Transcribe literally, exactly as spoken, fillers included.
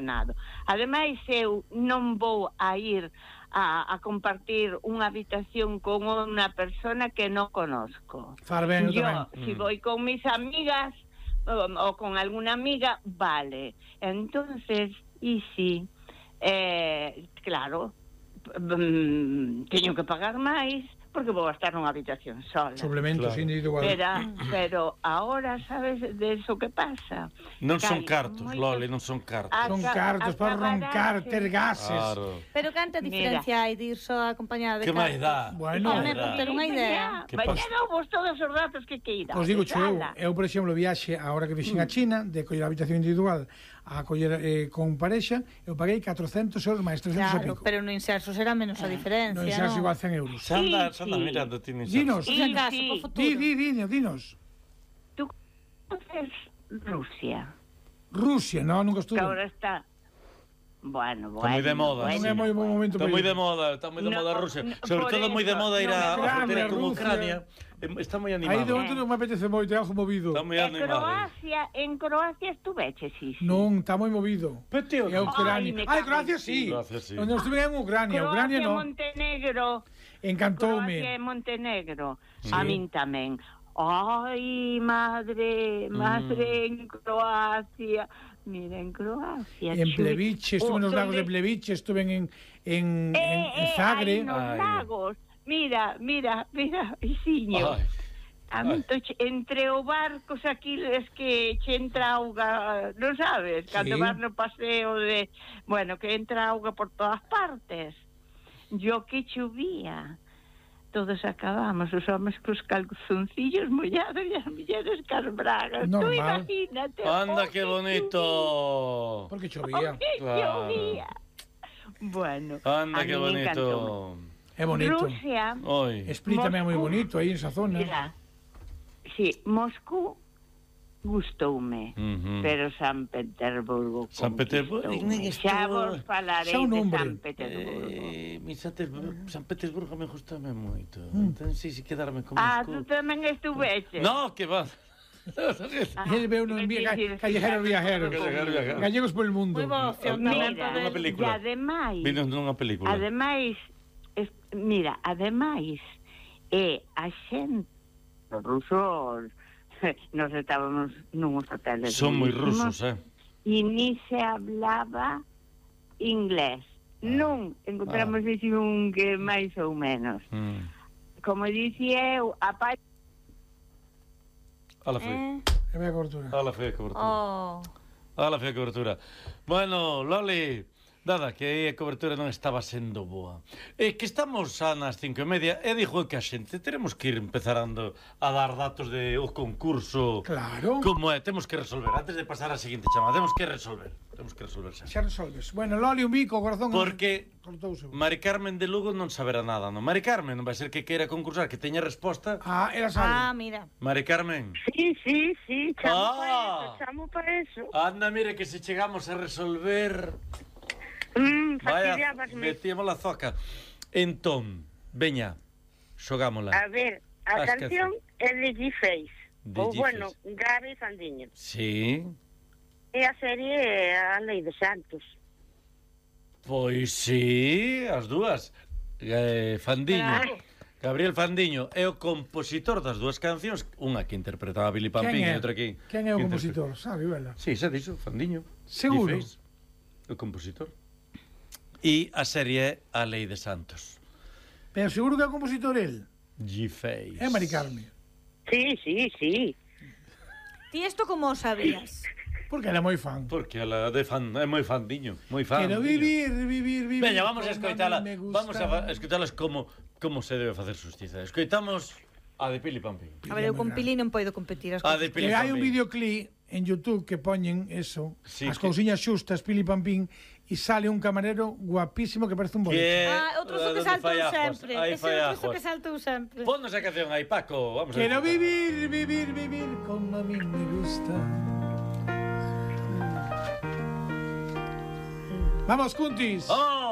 apaixonado. Ademais, eu non vou a ir a, a compartir unha habitación con unha persona que non conozco. Farbeno Yo, tamén. si Mm. voy con mis amigas o, o con alguna amiga, vale. Entonces, y si, eh, claro, mm, teño que pagar máis, porque vou a estar nunha habitación sola. Suplementos Claro. individual. Pero, pero ahora, sabes de eso que pasa? Non Que son hai cartos, moitos- Loli, non son cartos. Ah, Son Aca- cartos para roncar, acabarase. ter gases. Claro. Pero canta diferencia hai de ir só acompañada de Que máis dá? Bueno. Home, por ter unha idea. Que Vai pasa? ter vos todos os datos que queira. Pois digo eu, Ala. eu, por exemplo, viaxe a hora que vixen a China, de coller a habitación individual a coller eh, con parexa, eu paguei catrocentos euros máis trescentos Claro, e pico. pero no inserso será menos a diferencia, Non non? xa igual cen euros. Xa anda, Sí, xa anda sí. mirando, ti nin Dinos. Por si Sí, acaso, sí. po futuro. Di, di, di, dinos. Tú conoces Rusia, Rusia, non, nunca estuve. que ahora está... Bueno, Está bueno. moi de moda, bueno, Non é moi bon momento Está para moi ir. de moda, está moi de No, moda Rusia. no, Sobre por todo moi de eso, moda ir no, a Ucrania, frontera con Rusia. Ucrania. Eh, Está moi Aí de animado. momento non me apetece moito, é algo movido. Está moi En animado. Croacia, en Croacia estuveche, sí, sí. Non, está moi movido. Pero, tío, É Ai, me Ucrania. Ai, cago Croacia en sí. Croacia sí. Onde estuve en Ucrania, Ucrania non. Montenegro. Croacia e Encantoume. Montenegro. Sí. A min tamén. Ai, madre, madre en Croacia. Mira, en Croacia. En chui. Pleviche, estuve Oh, nos lagos de donde- Pleviche, estuve en, en, en, Eh, en eh, Zagre. aí nos Ai. lagos. Mira, mira, mira, Isiño. Ai. A min toche- entre os barcos aquí es que che entra auga, non sabes, cando Sí. vas no paseo de, bueno, que entra auga por todas partes. Yo que chovía. Todos acabamos, os homes cos calzoncillos mollados e as mulleres cas bragas. Tú Normal. imagínate. Anda, oh, que bonito. Porque chovía, chovía. oh, que Claro. chovía. Bueno, Anda, a que min bonito. encantoume. É bonito. Rusia, Oi. Split tamén é moi Moscú. bonito aí en esa zona. mira, sí, Moscú gustoume. Ujú. Pero San Petersburgo San Petersburgo, conquistoume. en Xa esto- vos falarei xa un de nombre. San Petersburgo. Eh, mi San Petersburgo, San Petersburgo me gustame moito. Mm. Entón, si, si quedarme con Ah, Moscú. tú tamén estuveches. No, que va. Ah, Ele veu non quero via, dicir, callejeros viajeros. Callejeros viajeros. Gallegos por el mundo. Moi boa opción Mira, tamén para unha ver. película. E ademais, Vino nunha película. ademais, es, mira, ademais, é a xente, os rusos, nos estábamos nuns hoteles. Son moi buenísimos, rusos, eh. E ni se hablaba inglés. Non encontramos ah. ese un que máis ou menos. Mm. Como dicía eu, a pa... Ala fe. Eh? É a cobertura. Ala fe a cobertura. Oh. Ala fe a cobertura. Bueno, Loli, nada, que aí a cobertura non estaba sendo boa. É que estamos xa nas cinco e media e dixo que a xente teremos que ir empezarando a dar datos de o concurso. Claro. Como é, temos que resolver antes de pasar á seguinte chamada, temos que resolver. Temos que resolver xa. Xa resolves. Bueno, Loli, un bico, o corazón. Porque cortouse. Mari Carmen de Lugo non saberá nada, non? Mari Carmen non vai ser que queira concursar, que teña resposta. Ah, era sabe. Ah, mira. Mari Carmen. Sí, sí, sí, chamo Ah. para eso, chamo para eso. Anda, mire que se chegamos a resolver. Mm, Vaya, fastidiábasme. metíamos la zoca. Entón, veña, xogámola. A ver, a As canción é de G-Face. De Ou, G-Face. bueno, Gaby Fandiño. Sí, E a serie é a Lei de Santos. pois sí, as dúas. Eh, Fandiño. Claro. Gabriel Fandiño é o compositor das dúas cancións, unha que interpretaba Billy Pampín Quen é? e outra que... Quen é o que compositor? Sabe, vela. Sí, xa dixo, Fandiño. Seguro? G-Face, o compositor. E a serie é A Lei de Santos. Pero seguro que é o compositor el. G-Face. É Mari Carmen. Sí, sí, sí. Ti isto como o sabías? Porque ela é moi fan. Porque ela de fan, é moi fandiño, moi fan. Quero vivir, vivir, vivir. Veña, vamos a como escoitala. mí me gusta. Vamos a fa- escoitalas como como se debe facer justiza. Escoitamos a de Pili Pampín. A ver, eu con Pili non podo competir as A de cousas. Pili Que hai un Pampín. videoclip en YouTube que poñen eso, Sí, as que- cousiñas xustas, Pili Pampín, e sale un camarero guapísimo que parece un boleto. Que Ah, outro so que onde saltou fai ajos. sempre. Aí Ese fai outro so ajos. que saltou sempre. Ponnos a canción aí, Paco. Vamos a Quero escoitar. vivir, vivir, vivir como a mí me gusta. Vamos, Cuntis. ¡Vamos!